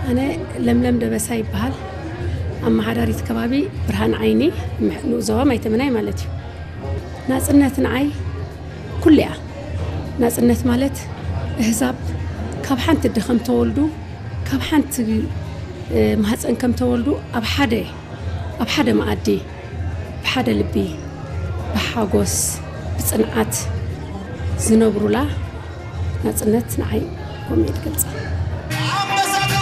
ኣነ ለምለም ደበሳ ይበሃል። ኣመሓዳሪት ከባቢ ብርሃን ዓይኒ፣ ንኡስ ዞባ ማይተመናይ ማለት እዩ። ናጽነት ንዓይ ኩሉ እያ። ናጽነት ማለት ኣህዛብ ካብ ሓንቲ ኣደ ከም ተወልዱ፣ ካብ ሓንቲ ማህፀን ከም ተወልዱ ኣብ ሓደ ኣብ ሓደ መኣዲ ብሓደ ልቢ ብሓጎስ ብፅንዓት ዝነብሩላ ናፅነት ንዓይ ከምኡ እየ ዝገልፃ።